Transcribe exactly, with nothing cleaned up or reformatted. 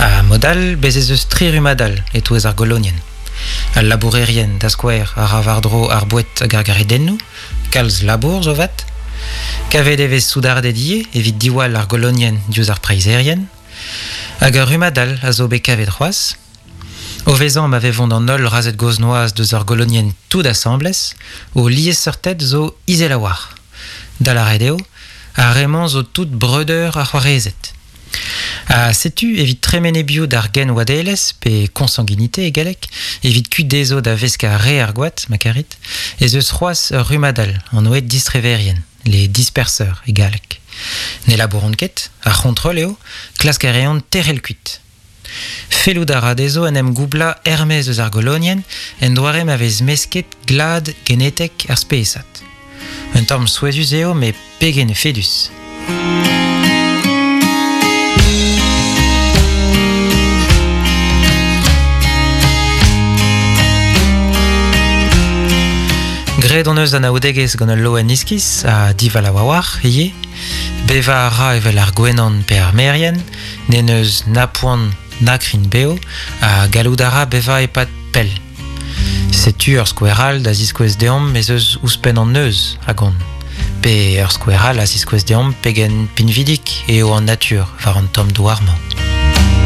Ha mod all, bez ez eus tri rummad all e-touez ar golonienn. Al labourerien, da skouer, a ra war-dro ar boued hag ar garidennoù, kalz labour zo vat. Kavet e vez soudarded ivez evit diwall ar golonienn diouzh ar preizherien. Hag ur rummad all a zo bet kavet c'hoazh. O vezañ ma vevont an holl razhed gozh-noazh deus ar golonienn tout asambles, o liesseurted zo izel a-walc'h. Da lâret eo, ar re-mañ zo tout breudeur ha c'hoarezed. Ha setu evit tremen e-biou d'ar genwadelezh, pe consanguinité e galleg, evit kuit dezho da veskañ re ar gwad, ma karit, ez eus c'hoazh ur rummad all, anvet distreverien, les disperseurs e galleg. Ne labouront ket, ar c'hontrol eo, klask a reont tec'hel kuit. Fellout a ra dezho en em goublañ er-maez eus ar golonienn en doare ma vez mesket glad genetek ar spesad. Un tamm souezhus eo, met pegen efedus. Graet hon eus anaoudegezh gant ul loen iskis ha divalav a-walc'h ivez. Bevañ a ra evel ar gwenan pe ar merien, n'en deus na poan na krign-bev ha gallout a ra bevañ e-pad pell. Setu ur skouer all da ziskouez deomp ez eus ouzhpenn an neuz a gont. Pe ur skouer all a ziskouez deomp pegen pinvidik eo an natur war an tamm douar-mañ.